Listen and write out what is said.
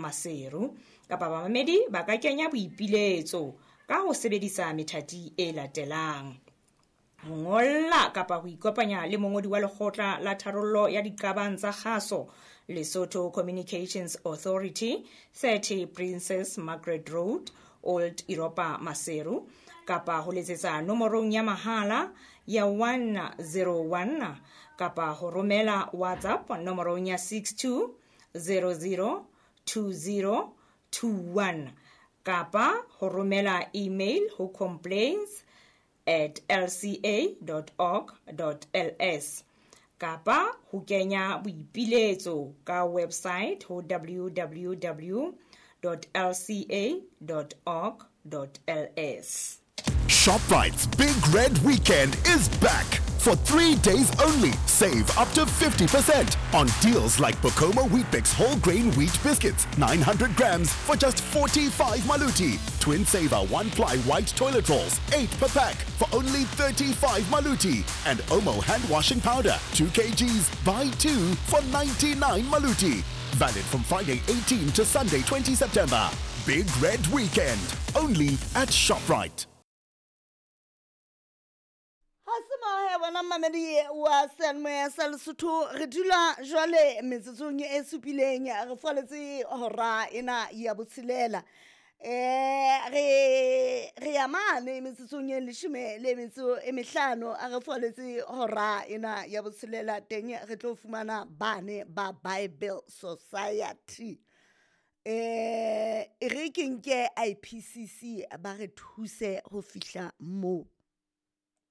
Maseru. Kapa bamamedi ba ka kenya boipiletso ka ho sebedisa methati e latelang: ho ngolla kapa ho ikopanya le mongodi wa lekgotla la tharollo ya diqabang tsa kgaso, Lesotho Communications Authority, 30 Princess Margaret Road, Old Europa, Maseru, kapa ho letsetsa nomorong ya mahala ya 101, kapa ho romela WhatsApp nomorong ya 62 00 20 21, kapa ho romela email ho complaints@lca.org.ls, kapa ho kenya boipiletso ka website ho www.lca.org.ls. ShopRite's Big Red Weekend is back. For 3 days only, save up to 50% on deals like Bokomo Weet-Bix whole grain wheat biscuits, 900 grams for just 45 maluti. Twin Saver 1-ply white toilet rolls, 8 per pack for only 35 maluti. And Omo hand washing powder, 2 kgs, buy 2 for 99 maluti. Valid from Friday 18 to Sunday 20 September. Big Red Weekend, only at ShopRite. Ha se mahe bona mmamedi wa seyalemoya sa Lesotho, re dula jwale metsotsong e supileng re faletse hora ena ya botshelela. Re ya mane metsotsong e leshome le metso e mehlano a re faletse hora ena ya botshelela, teng re tlo fumana bane ba Bible Society. E re ke nke IPCC ba re thuse ho fihla moo.